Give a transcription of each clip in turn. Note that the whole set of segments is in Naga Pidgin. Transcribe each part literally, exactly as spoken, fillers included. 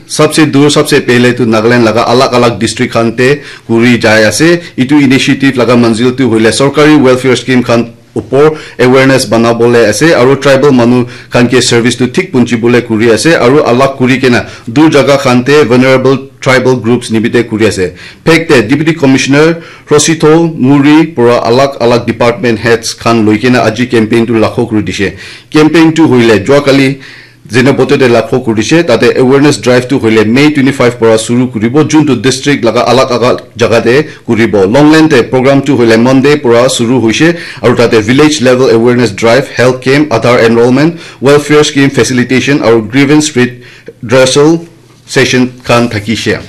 Sabse dur, sabse pehle tu Nagaland laga alag alag district khan te kuri jai ase. Itu initiative laga manzil tu hoile sorkari welfare scheme khan upor awareness banabole ase, aru tribal manu khan ke service tu thik punchibole kuri ase, aru alag kuri kena dur jaga khan te vulnerable tribal groups nimite kuri ase. Phek te Deputy Commissioner Rositho Muri pura alag alag department heads khan loi kena aji campaign tu lakho kuri dishe. Campaign tu hoile jua kali Zenoboto te lakho kuri dishe, tate awareness drive tu hoile May twenty-five para suru kuribo, juntu district laga alag alag jaga te kuribo. Longland te program tu hoile Monday para suru hoishe, aru tate village level awareness drive, health camp, Aadhaar enrollment, welfare scheme facilitation, aru grievance redressal session khan thakishe.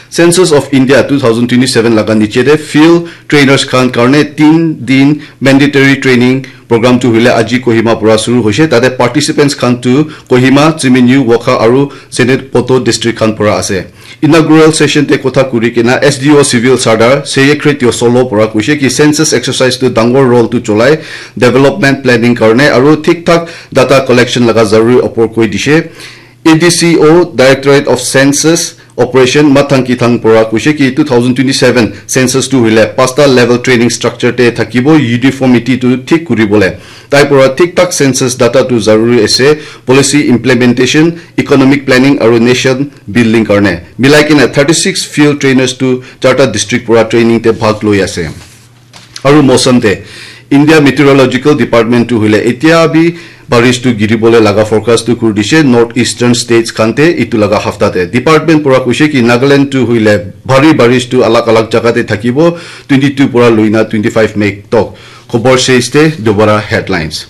Census of India two thousand twenty-seven laga niche te field trainers khan karne tin din mandatory training program tu hoile aji Kohima pura suru hoise. Tate participants khan tu Kohima, Tseminyu, Wokha aru Zenoboto district khan pura ase. Inaugural session te kotha kuri kena S D O Civil Sardar Seyekre Teo Solo pura koise ki census exercise tu dangor role tu cholai development planning karne aru thik thak data collection laga zaruri opor koi dishe. A D C O, Directorate of Census Operation, Mathang Kithang pura koise ki two thousand twenty-seven census tu hoile pasta level training structure te thakibo, uniformity tu thik kuribole. Tai pura thik thak census data tu zaruri ase, policy implementation, economic planning aru nation building karne. Milai kena thirty-six field trainers tu charta district pura training te bhag loi ase. Aru mousam te India Meteorological Department tu hoile etia bi barish tu giribole laga forecast tu kuri dishe North Eastern States khan te itu laga hafta te. Department pura koise ki Nagaland tu hoile bhari barish tu alag alag jaga te thakibo twenty-two pura loina twenty-five May tok. Khobor shesh te dobara headlines.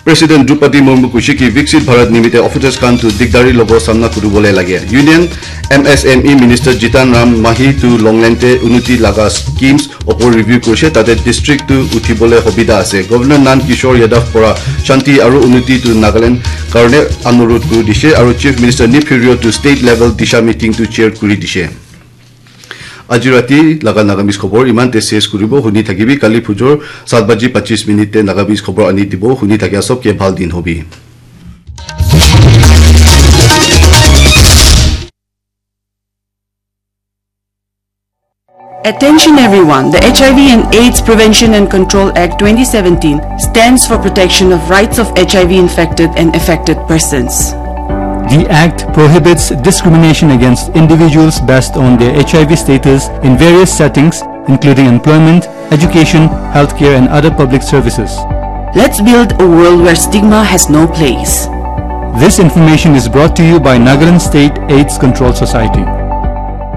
President Droupadi Murmu koise ki Viksit Bharat nimite officers khan tu digdari lobo samna kuribole lage. Union M S M E Minister Jitan Ram Mahi tu Longland te unnoti laga schemes opor review korise, tate district tu uthibole hobida ase. Governor Nand Kishore Yadav pora shanti aru unnoti tu Nagaland karne anurudh kuri dishe aru Chief Minister Neiphiu Rio tu state level disha meeting tu chair kuri dishe. Aji rati laga Nagamese khobor iman te ses kuribo, huni thakibi, kali phujor saat baji pachis minute te Nagamese khobor ani dibo, huni thakia sob ke bhal din hobi. Attention everyone, the H I V and AIDS Prevention and Control Act twenty seventeen stands for protection of rights of H I V infected and affected persons. The Act prohibits discrimination against individuals based on their H I V status in various settings, including employment, education, healthcare, and other public services. Let's build a world where stigma has no place. This information is brought to you by Nagaland State AIDS Control Society.